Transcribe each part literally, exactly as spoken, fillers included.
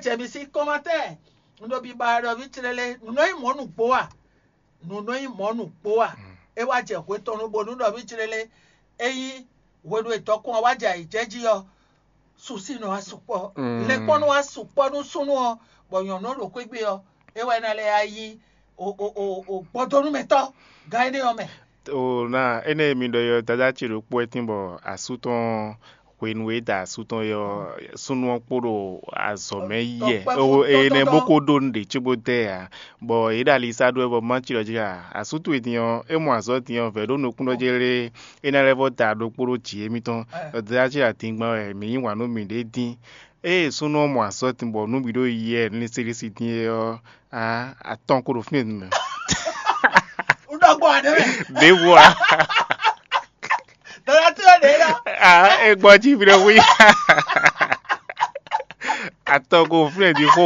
Jɛ mi sín kɔmatɛ́ɛ, un ɖo biba ɖɔ vǐ clélé, nǔ nɔ nyí mɔ̌ nǔgbó a? Nǔ nɔ nyí mɔ̌ nǔgbó a? É wá jɛ hwe tɔn nu bónú ɖɔ vǐ clélé, ényí hwenu e dɔkun ɔ́ wá jɛ ayǐjɛ́ jí ɔ́, susi nɔ wá sukpɔ́, lɛkpɔ́ nɔ wá sukpɔ́ nú súnnu ɔ́, bɔ nyɔ̌nu ɔ́ ɖo xwé gbe ɔ́, é wá ná lɛ́ yá yí gbɔdónúmɛtɔ́ gán énɛ́ ɔ́ mɛ. O ná énɛ́ e mi ɖɔ é ɔ́, dadá ce ɖokpó wɛ tín bɔ asú tɔn hwenu e é da asú tɔn é ɔ́, súnnu ɔ́ kpo ɖo azɔ̌ mɛ yi wɛ, énɛ́ bó ko ɖó nǔɖé cóbó dɛ ǎ, bɔ yě ɖo ali sá ɖó wɛ bɔ má ci ɖɔ jí ǎ. Asú towe din ɔ́, é mɔ azɔ̌ din ɔ́, vɛ̌ ɖó nukúnnú ɔ́ jɛ lé, é ná lɛ́ vɔ́ da ɖokpó ɖó jǐ émítɔn. Dadá ce adingban wɛ mǐ yí wǎn nú mǐɖée dín. Ée súnnu ɔ́ mɔ azɔ̌ din bɔ nǔ bǐ ɖo yi wɛ lɛ́sílísí din é ɔ́, atɔn ko ɖo fínɛ́ din mɛ. Un ɖɔ gbɔ ǎ ɖé mɛ. Ɖěvo ǎ. Dɔ̌nà tí ó ɖe lɔ. Ah, é gbɔ jí mi ɖe wí. Atɔn ko fínɛ́ din xó.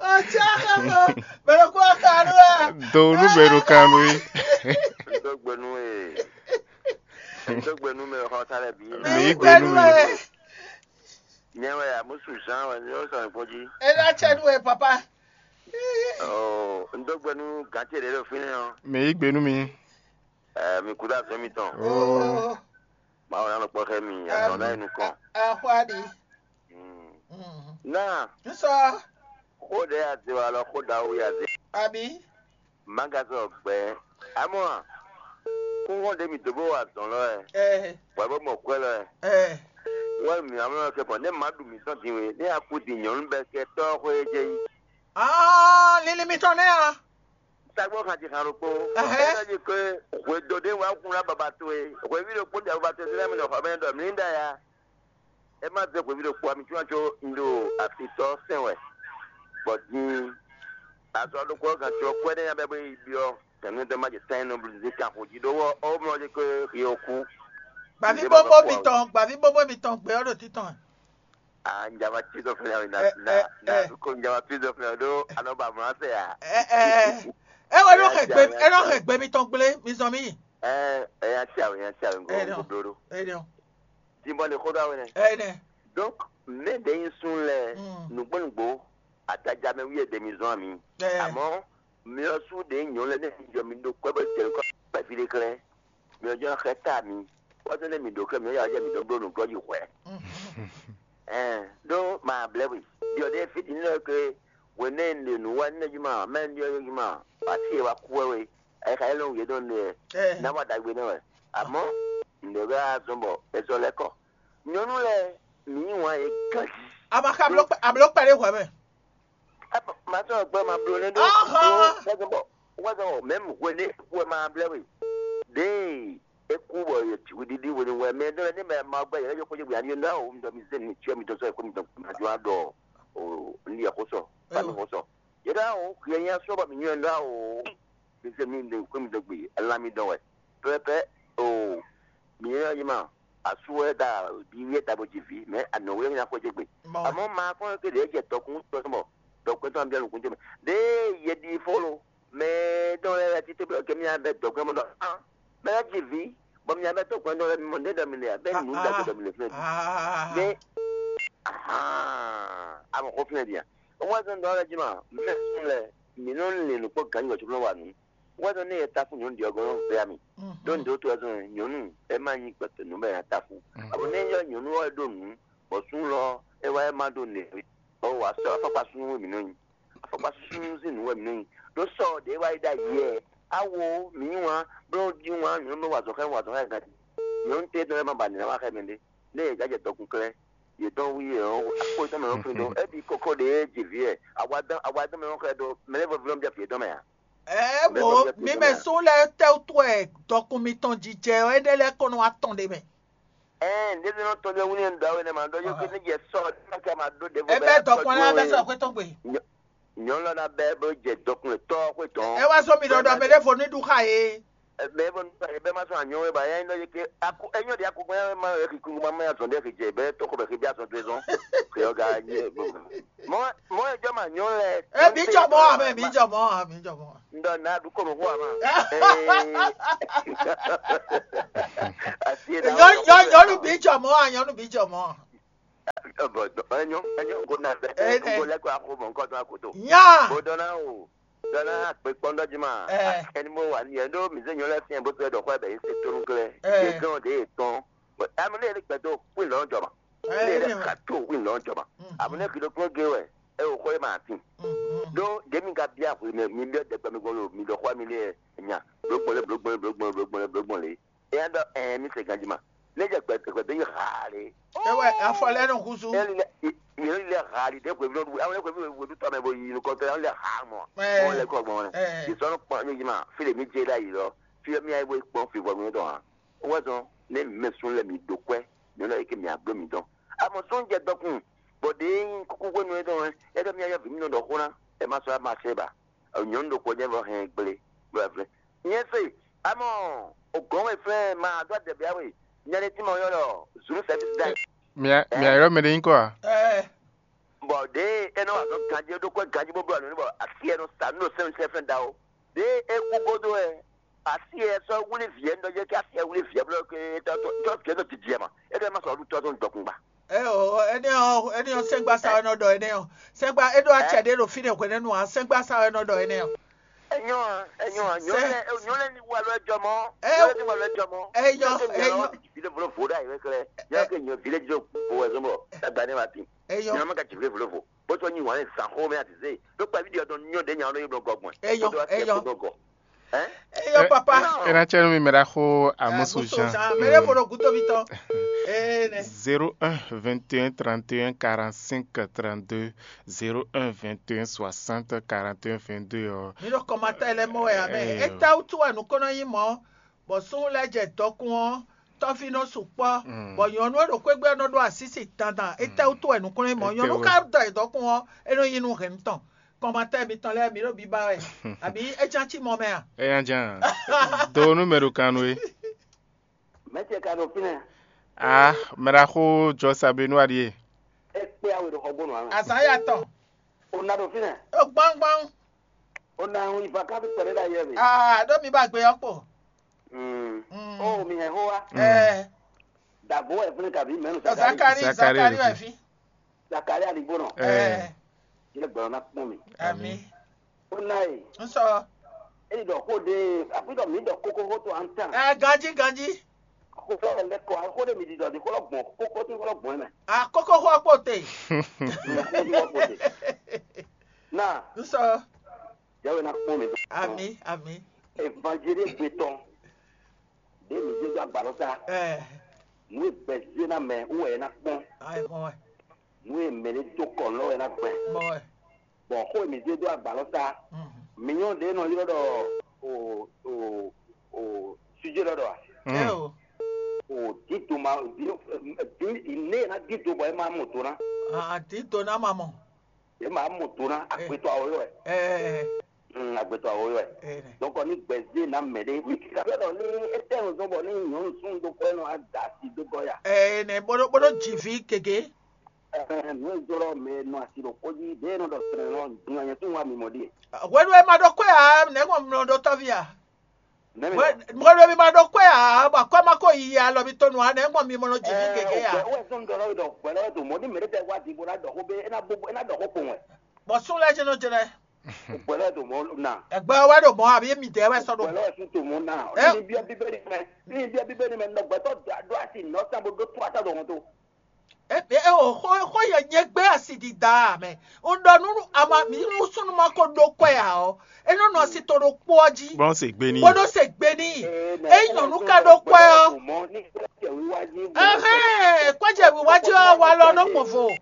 Ɔtsá xɔmɔ, bɛlɛ kó aka ɖó wɛ. Do nú bɛ ɖo kan nú yí. Ŋdó gbe nú e. Ŋdó gbe nú mɛ xɔ ta lɛ bǐ. Mǐ yí gbe nú mi. Nyɛ wɛ amusu Jean wɛ ní ó sɔn kpɔn jí. É ná tsɛ nú wɛ papa. Ɔɔ, ŋdó gbe nú gǎn ce ɖě ɖo fínɛ́ ɔ́. Mǐ yí gbe nú mi. Ɛ, mi kú dó azɔ̌ mitɔn. Oo. Mawu ná nɔ kpɔ́ xá mi, azɔ̌ ná yi nukɔn. Axwáɖi. Mm. Mm. Ná Nsɔ. Xó ɖě a zé wa lɔ xó ɖawu ya zé. Abi. Má ka sɔ gbɛ̌. Amɔ a, kúnxɔ́n ɖě mi dǒ bó wa azɔ̌ lɔ wɛ. Ɛ. Bɔ é bó mɔ kwɛ́ lɔ wɛ. Ɛ. Wɛ mi amlɔ kɛ bɔ nɛ má ɖu mǐtɔn din we, nɛ a kú din nyɔ̌nu bɛ kɛ tɔ́ xwé jɛ yí. Ah, lili mitɔn nɛ́ a? Sagbó xan ci xan ɖokpó. Ɛhɛn. É nɔ nyi ke hwedó ɖé wá kun ná baba towe. Hweví ɖokpó ɖe baba towe sílẹ̀ mi nɔ xɔ mɛ ɖɔ mǐ ɖa ya. É má zé hweví ɖokpó ami cúnacó un ɖo afitɔ́ sɛn wɛ. Bɔ din azɔ ɖokpó ɔ́ gǎn có kwɛ́ ɖé nya bɛ́ bó yi byɔ́ tɛ̌nútɛ́ má jɛ sɛn nɔ blú zé kan xo jí ɖó wɔ ó mlɔ jí ke xi ó kú. Gbàví bóbó mitɔn, gbàví bóbó mitɔn gbé ɔ́ ɖo títɔn. Ah, njama tí dɔ fɛnɛ na Ɛ, na ɛ, na ɛ. Ko njama tí dɔ fɛnɛ ɖó anɔ ba mlɔ sɛ ya. Ɛ, ɛ, ɛ. Ɛ wɛ nɔ Ɛ, xɛ gbé, ja, ɛ nɔ ja. Xɛ gbé mitɔn gblé, mi zɔn mi. Ɛ, ɛ ya tia o, ya tia o, Ɛ nɔ. Nko bló ɖó. Ɛ nɔ. Dimbɔ le xó ɖó awe nɛ. Ɛ nɛ. Donc, mɛ ɖe nyi sun lɛ Mm. Nugbo nugbo, ataja mɛ wiye ɖe mi zɔn ami. Ɛ. Amɔ mi ɔ́ sú ɖe nyɔ lɛ ne mi jɔ mi ɖo kwɛ bɔ jɛ nukɔ kpɛvi ɖe klɛ́. Mi ɔ́ jɔ xɛ ta mi. Wá tó ne mi ɖo klɛ́ mi ɔ́ ya jɛ mi ɖɔ bló nǔgbɔ yi hwɛ. Mm. Ɛn ɖó ma blɛ́ we. Ɖiɔ ɖé fí din lɛ ke hwenɛ́ un ɖe nǔ wá nɛ́ jí ma mɛ un ɖiɔ jí ma. Wá sí e wá kú wɛ we. Ayika yɛ lɔn wǔyé dɔn ɖe Ɛ. Ná wá ɖagbe nɛ wɛ. Amɔ̌ nǔɖé wɛ azɔn bɔ è sɔ́ lɛ́ kɔ. Nyɔ̌nu lɛ́ɛ mǐ yí wǎn yě ganjí. A ma xa bló kpɛ, a bló kpɛɖé hwɛ̌ mɛ. Màtɔ́ gbɛ ma bló nɛ́ ɖó Ahán. Wɛzɔn bɔ wɛzɔn bɔ mɛ̌m hwelé wɛ ma blɛ́ we. Ɖěe é kú bɔ yě cí hweɖiɖi hwenu wɛ mɛ ɖé lɛ́ɛ ní mɛ ma gbɛ yě lɛ́ yɔkpɔ́ yě gbe ani ná o mi dɔ mi zé mi cyɔ mi dɔ sɔ yě kó mi dɔ ma jɔ ɖɔ o ní yɛ xó sɔ fami xó sɔ. Yě ɖɔ o yɛ nyɛ sɔ bɔ mi nyɔ ɖɔ o mi zé mi ɖe kó mi dɔ gbe lan mi dɔ wɛ pɛpɛ o mi nyɔ yi ma. Asú wɛ ɖa ɖiɖi e ta bó ji vǐ, mɛ anɔ̌ wɛ nya xwedó gbe. Amɔ̌ ma kɔn ké ɖě jɛ dɔkun tɔn mɔ dɔkun tɔn bia nukún jɛ mɛ. Ɖěe yɛ ɖi fó lo, mɛ tɔn lɛ́ɛ ti tébí kɛ mía bɛ dɔkun mɔ ɖɔ hàn, mɛ lɛ́ɛ ji vǐ, bɔ mía bɛ dɔkun tɔn lɛ́ɛ mɔ ɖé dɔ mi le a, bɛ nǔ da dɔ mi le fún ɛ. Ɖé amɔ xó fún ɛ dia. Ó wá sɔn dɔ lɛ jí ma, mɛ sún lɛ, mǐ nɔ lin nǔ kpɔ́ gǎn yɔ cóbó nɔ wa nǔ. Wɛ́ nɔ nɛ e ta fún nyɔ̌nu ɖě ɔ́ gɔ́ nɔ vɛ́ ami. Ɖó nǔɖé wútu wɛ zɔn nyɔ̌nu é má nyí gbɛtɔ́ nǔ bɔ è nǎ ta fún. Abo nɛ́ yɔ́ nyɔ̌nu ɔ́ ɖó nǔ, bɔ súnnu lɔ é wá é má ɖó nǔ, bɔ wǎ sɔ́ afɔkpa súnnu wɛ mǐ nɔ nyi. Afɔkpa súnnu sín nǔ wɛ mǐ nɔ nyi. Ɖó sɔ ɖě wá yi ɖ'ayǐ wɛ, awo mǐ yí wǎn, bló jí wǎn nyɔ̌nu wa azɔ̌ xá wa azɔ̌ xá gǎn. Nyɔ̌nu tétɔn lɛ́ɛ má ba nǔ ná wá xá mɛɖé. Nɛ́ yě jǎ jɛ dɔkun klɛ́, yě dɔn wú yě ɔ́, akpó tɔn mɛ ɔ́ flín ɖó. É ɖi kókó ɖě jǐ vǐ wɛ, awa dán awa dán mɛ ɔ́ xɛ ɖó mɛ lɛ́ɛ vɔ́ vlɔ́ bia fǐ yětɔn mɛ ǎ. Ɛ wo mi mɛ sún lɛ́ɛ tɛ́wútu wɛ dɔkun mitɔn jijɛ ɔ́ énɛ́ lɛ́ɛ kɔn nɔ wá tɔn ɖe mɛ. Ɛɛ, ɖěbǔ nɔ tɔn ɖé wú ní ɖɔ wɛ nɛ ma ɖɔ yó ké ní jɛ sɔ ní ma ká ma ɖó ɖěvo. Ebe dɔkun la bɛ sɔ xwé tɔn gbe. Nyɔ̌nu lɔ ná bɛ bó jɛ dɔkun tɔ́ xwé tɔn. Ɛ wá sɔ mi ɖɔ ɖɔ mɛ ɖé vo ní ɖu xa yé. Mɛ bó nú bɛ ma sɔ anyɔ wɛ ba yá ní ɖɔ yé ké aku enyɔ ɖi aku gbɛn ma wɛ kí kúkú ma mɛ azɔn ɖe kí jɛ bɛ tɔkɔ bɛ kí bí azɔn tó zɔn. Kí ɔga nyɛ. Mɔ mɔ ejɔ ma nyɔ lɛ. Ɛ mi jɔ mɔ amɛ mi jɔ mɔ amɛ mi jɔ mɔ. Ndɔ na ɖu kɔmɔ xo ama. Asi e na Nyɔnu nyɔnu bi jɔ mɔ a nyɔnu bi jɔ mɔ. Bɔ ɛnyɔ ɛnyɔ ko na bɛ ko lɛ ko axo mɔ nkɔ tɔn akoto. Nya. Bo dɔn na o dɔn na akpe kpɔn dɔ jima. Ɛni mo wa ni ɛn do mi se nyɔ lɛ fiɛ bo tɛ dɔ xɔ bɛ yi se tonu klɛ. Ye gɛn o de ye tɔn. Ami ne yɛrɛ gbɛdo win lɔn jɔma. Ne yɛrɛ ka to win lɔn jɔma. Ami ne kido kpɔn ge wɛ e o xɔ ye ma tin. Do de mi ka bia hwi ne mi bia dɛgbɛ mi gbɔn lo mi dɔ xɔ mi le nya. Blogbɔn le blogbɔn le blogbɔn le blogbɔn le blogbɔn le. Eya ɖɔ ɛɛ mi se ganji ma. Ne jɛ gbɛ gbɛ yi haa le. Ewɛ afɔ lɛ nɔ husu. Yeli lɛ yeli lɛ haa li de hwevi nɔ du awo hwevi hwevi du tɔmɛ bo yi nukɔ tɛ lɛ haa mɔ. Ɛɛ. Mɔ lɛ kɔ gbɔn lɛ. Ɛɛ. Isɔn kpɔn mi ji ma fi le mi je la yi lɔ. Fi mi ayi bo kpɔn fi vɔ mi dɔn ha. Wɛ zɔn ne mɛ sun lɛ mi do kwɛ. Mi lɔ eke mi agbo mi dɔn. Amɔ sun jɛ dɔkun. Bɔ de kuku hwenu yɛ dɔn ɛ. Ɛdɔ mi ayɔ vi mi nɔ dɔ xona. Ɛ ma sɔ ma se ba. Nyɔnu ɖokpó jɛ vɔ hɛn gble bɔ ɛ flɛ. Nyɛ se amɔ o gɔn wɛ flɛ ma dɔ adɛ bia we. Nyɛ ne ti ma yɔ lɔ zulu sɛbi da. Mia mia yɔrɔ mɛ ɖe nyí kɔ a? Ɛɛ. Bɔ ɖe e nɔ wa nɔ ganji ɖo kɔ ganji bó blɔ nǔ bɔ asi e nɔ sa nǔ ɖo sɛn sɛn fɛn da o. Ɖe e kú godo wɛ asi e sɔ wuli vǐ e nɔ yɛ kí asi e wuli vǐ e blɔ ke tɔ tɔ tɔ vǐ e nɔ didi ma. E ɖe ma sɔ ɔdu tɔ tɔn dɔkun gba. Ɛ o, ɛnɛ ɔ, ɛnɛ ɔ, sɛgba sa wɛ nɔ ɖɔ ɛnɛ ɔ. Sɛgba e ɖo acɛ ɖe ɖo fínɛ hwɛnɛnu a, sɛgba sa wɛ nɔ ɖɔ ɛnɛ ɔ. Enyɔ a, enyɔ a, nyɔ lɛ nyɔ lɛ ni wa lɔ jɔ mɔ. Ɛ nyɔ lɛ ni wa lɔ jɔ mɔ. Enyɔ enyɔ. Vile vlo vo ɖe ayi wɛ klɛ. Nyɔ ke nyɔ vile jo vo wɛ zɔn bɔ. Ɛgba ne ma tin. Enyɔ. Nyɔ ma ka ji vile vlo vo. Bó sɔ nyi wàn zan xó mɛ a ti se. Ɖo kpa vi ɖi ɔdɔn nyɔ ɖe nya ɔdɔn yi blɔ gɔgbɔn. Enyɔ enyɔ. Eyɔ papa. Ena tsɛ nu mi mɛ ɖa xo amusu jean. Mɛ ɖe fo ɖo guto mi tɔn. Ee ne. Zéro un vingt et un trente et un quarante cinq trente deux. Zéro un vingt et un soixante quarante et un vingt deux ɔ. Mi ɖo kɔmatɛ lɛ mɔ wɛ amɛ. Eta wutu wɛ nukɔnɔ yi mɔ. Bɔ sunwun lɛ jɛ dɔkun ɔ tɔvi nɔ sukpɔ. Bɔ nyɔnu e ɖo xwegbe ɔ nɔ ɖo asisi dandan. Eta wutu wɛ nukɔnɔ yi mɔ nyɔnu ka dɔ yi dɔkun ɔ e nɔ yi nu hɛn tɔn. Kɔmatɛ mitɔn lɛ́ɛ mi ɖo biba wɛ, abi é ján cí mɔ mɛ a? Eya ján. Do nú mɛ ɖo kan nú é. Mɛ̌ ce ka ɖo fínɛ́? Ah, mɛ ɖaxó jɔ sa be nú aɖíe. É kpé awe ɖo xɔgbónu ǎ mɛ. Azǎn ya tɔn. O na ɖo fínɛ́. O gbɔngbɔn. O na hun ivakan bí kpɛɖé ɖo ayɛ mi. Ah, ɖó mi ba gbe ɔ́ kpo. Mm. Mm. O mi hɛn xó wa. Ɛɛ. Dàgbò wɛ fúnni kàbí mɛnu Zakari. Zakari Zakari ɖo wɛ fí. Zakari aligbónɔ. Ɛɛ. Yɛ gbɛlɔ na kpɔn mi. Ami. Ó ná e. Nsɔ. Eyi ɖɔ xó ɖe afi ɖɔ mi ɖɔ kókó xó to an tan. Ɛ ganji ganji. Xó fɛ lɛ kɔ xó ɖe mi ɖi ɖɔ di xó lɔ gbɔn kókó tí xó lɔ gbɔn mɛ. A kókó xó kpó te. Xó tí xó kpó te. Na. Nsɔ. Yɛwɛ na kpɔn mi. Ami ami. Evanjeli gbetɔ. Ɖe mi zé dó agbalɔ ta. Ɛ. Nú egbɛ zé ná mɛ wú wɛ é ná kpɔn. Ayi xɔ wɛ. Nú e mɛ ɖé dó kɔ lɔ wɛ ná gbɛ. Mɔ wɛ. Bɔn xó e mi zé dó agbalɔ ta. Mhm. Mi nyɔ́ ɖě nɔ ylɔ́ ɖɔ o o o sujé lɔ ɖɔ a. Ɛ o. O dídò ma dí dí né e ná dídò bɔ é má mɔ do ná. A dídò ná ma mɔ. É má mɔ do ná agbetɔ awɔ yɔ wɛ. Ɛ. Mm, agbetɔ awɔ yɔ wɛ. Ɛ. Donc ni gbɛzé na mɛ ɖé mi kika fɛ dɔ ni étɛn zɔn bɔ ni nyɔnu sún do kɔ nɔ ada si do gɔ ya. Ɛ nɛ bolo bolo jivi keke. Ɛ nu e jɔrɔ mɛ nɔ asi ɖo kpɔdzi ɖe nɔ dɔ srɛ nɔ nyanya tún wa mi mɔ ɖie. Hwenu e ma ɖo kwe a nɛ ŋɔ mlɔ ɖo tɔvi a. Nɛmɛ. Hwenu e mi ma ɖo kwe a bɔ kwe ma ko yi alɔ mi tonu a nɛ ŋɔ mi mɔ nɔ jivi keke a. Wɛ sɔn dɔ lɔ dɔ gbɛ lɔ do mɔ ni mɛ ɖe tɛ wa di bo na dɔ ko be ena bo ena dɔ ko kpɔn wɛ. Bɔ sun lɛ jɛnɛ jɛnɛ. Gbɛ lɔ do mɔ na. Ɛgbɛ wɛ do mɔ abi mi dɛ wɛ sɔ do. Gbɛ lɔ sun to mɔ na. Ni bia bibeli mɛ ni bia bibeli mɛ nɔ gbɛtɔ do asi nɔ sa bo do to ata do mɔ to. E e o xó xó yɛ nyɛ gbé asi dida mɛ. Un ɖɔ nú ama mi nú súnnu ma ko ɖó kwɛ ǎ ɔ́, é nɔ nɔ asi to ɖokpó ɔ́ jí. Bó se gbe n'i. Bó nɔ se gbe n'i. É nyɔ̌nu ka ɖó kwɛ ɔ́. Ɛhɛn, kwɛ́jɛ wíwá jí ɔ́ wa lɔ nɔ gbɔn vo.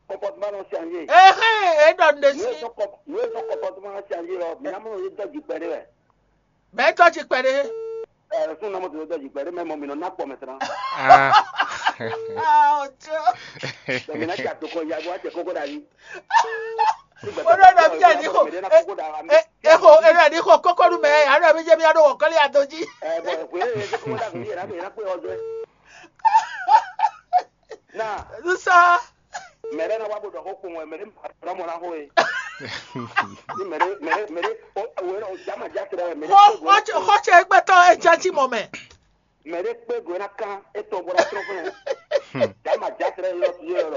Comportement nɔ changer. Ɛhɛn, é ɖɔ nu ɖe sí. Nú é sɔn comportement nɔ changer lɔ, mi ná mɔ nɔ yé dɔ́ jukpɛ ɖé wɛ. Mɛ tɔ́ jí kpɛɖé. Ɛ sún nɔmɔ tó dɔji pɛlɛ mɛ mɔ mi nɔ ná kpɔ mɛ tán. Ah, ojo. Dɔmi na ja to kɔ ya wa tɛ koko da yi. Kódó nɔ bí ẹni kò, ẹ kò ẹni ẹni kò kókó nu mɛ, àná mi jẹ́ mi àná wọ̀ kọ́lé àdójì. Ɛ bɔ ìwé yẹn tó kó dà tó yẹn lábẹ́ yẹn lápẹ́ ọjọ́. Náà. Sísá. Mɛ ɖé nɔ wá bó ɖɔ xó kpowun wɛ, mɛ ɖé ma ɖɔ mɔ ná xó e. Ní mɛ ɖé mɛ ɖé mɛ ɖé o o o jama ja tlɛ wɛ mɛ ɖé Xɔ kpé go xɔ ná tsɛ xɔ tsɛ gbɛtɔ etsɛ tsi mɔ mɛ. Mɛ ɖé kpé go ná kán etɔn bó ná trɔn fún yɛ. Jama ja tlɛ yɔ yɔ yɔ.